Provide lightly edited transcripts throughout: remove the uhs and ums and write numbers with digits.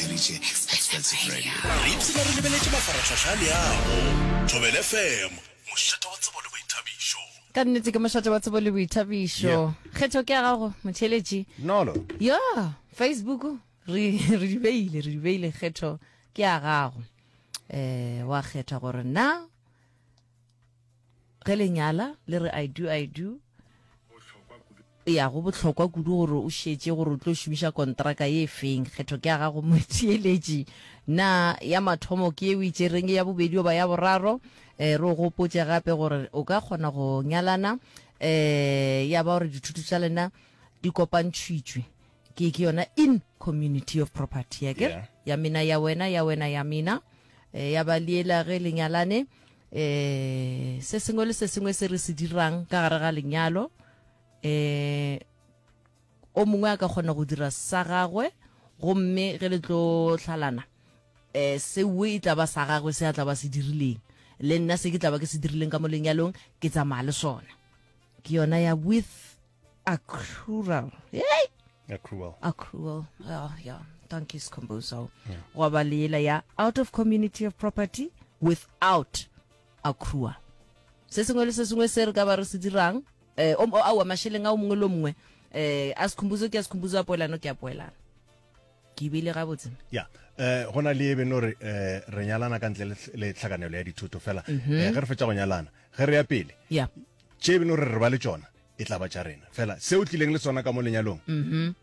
theeditše Expensive Radio. Re ipshina re lebeletše mafarahlahla a leago. Thobela FM, mošate wa tsebo le boithabišo. Ka nnete ke mošate wa tsebo le boithabišo. Kgetho ke ya gago, motheeletši. Nolo. Ya, Facebook re re di beile, re di beile kgetho ke ya gago. Eh wa kgetha gore na ge le nyala le re I do I do ya go bohlokwa kudu gore o šetše gore o tlo šomiša kontraka ye feng kgetho ke ya gago motheeletši na ya mathomo ke ye o itšereng ya bobedi goba ya boraro um re o gopotše gape gore o ka kgona go nyalana um ya ba gore dithuto tša lena di kopantšhitšwe ke ke yona in community of property ya ke ya mina ya wena ya wena ya mina eh, ya ba liela ge le nyalane eh se sengwe le se sengwe se re se dirang ka gare ga lenyalo eh o mongwe a ka kgona go dira sa gagwe gomme ge le tlo hlalana eh seo e tla ba sa gagwe se a tla ba se dirileng le nna se ke tla ba ke se dirileng ka mo lenyalong ke tsamaya le sona ke yona ya with accrual hey accrual accrual oh, yeah thank you Skhumbuzo yeah. gwa ba le yela ya out of community of property without accrual se sengwe le se sengwe se re ka ba re se dirang eh o aowa mašeleng a o mongwe le o mongwe eh a Skhumbuzo ke a Skhumbuzo a poelano ke a poelano ke beile gabotse ya eh go na le e beno re eh re nyalana ka ntle le tlhakanelo ya dithoto fela mm -hmm. eh, ge re fetša go nyalana ge re ya pele ya tše beno re re ba le tšona e tla ba tša rena fela se o tlileng le sona ka mo lenyalong mm -hmm.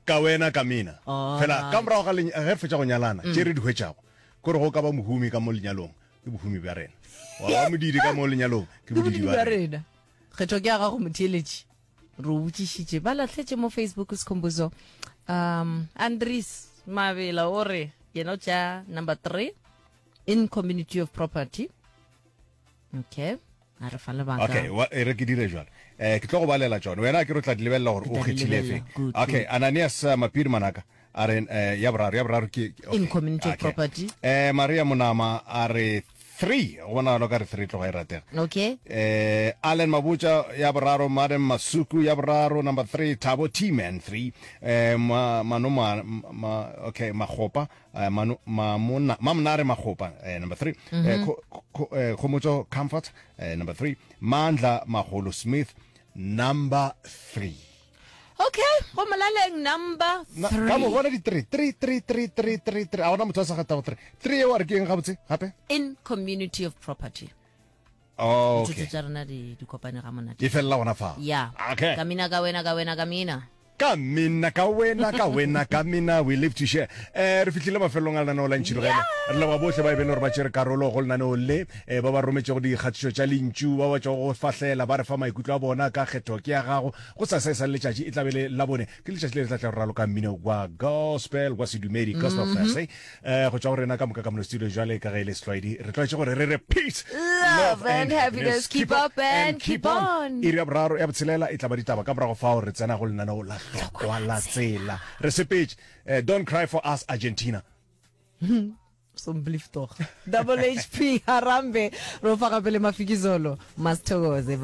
ka wena ka mina fela ka morago ga ge re fetša go nyalana mm. tše re di hwetšago kore go ka ba mohumi ka mo lenyalong ke bohumi bja rena wa ba modidi ka mo lenyalong ke bodidi bja rena kgetho ke ya gago motheeletši re o botšišitše ba lahletše mo facebook sekhombuzo um andries mabela o re yena o tša number 3 in community of property okay a re fa lebaka okay wa e re ke dire jalo eh ke tlo go balela tšone wena ke re tla di lebelela gore o kgethile efe okay ananias eh, mapiri manaka a re eh, ya boraro ya boraro ke okay. in community okay. property eh maria monama a re 3 go bonagalo ka re 3 tloga e ratega okay eh allen mabutša ya boraro madam masuku ya boraro number 3 thabo t-man 3 eh ma, mano ma, ma, okay magopa Eh, mano, mamona, mamonare magopa eh, number 3 mm -hmm. eh, eh, khomotso comfort eh, number 3 mandla magolo smith number 3 okay go molaleng number 3 ka mo bona di 3 3 3 3 3 3 3 a ona motho a sa gatago 3 3 eo a re ke eng gabotse gape in community of property Oh, okay. tša rena di di kopane ga monate e felela gona fa ya okay. ka mina ka wena ka wena ka mina ka mina ka wena ka wena ka mina we live to share eh re fihlile mafelelong a lenaneo la ntšhilogele re leboga bohle ba e beng gore ba tšere karolo go lenaneo le eh, ba ba rometšego dikgatišo tša lentšu ba ba tšwago go fahlela ba re fa maikutlo a bona ka kgetho ke ya gago go sa sa e sa le letšatši e tla be le labone ke letšatši le le tla tla go raloka mmino wa gospel wa sedumedi gospel mm -hmm. fest eh go tšwa go rena ka moka ka mono studio jwale ka ge e le setlwaedi re tlwaetše gore re re peace love and happiness keep up and keep on iri ya boraro ya botshelela e tla ba ditaba ka morago fao re tsena go lenaneo la hlokwa la tsela re sepetše eh, don't cry for us argentina Somblief tog. Double HP Harambe ro fa gape le Mafikizolo. Masithokoze ba.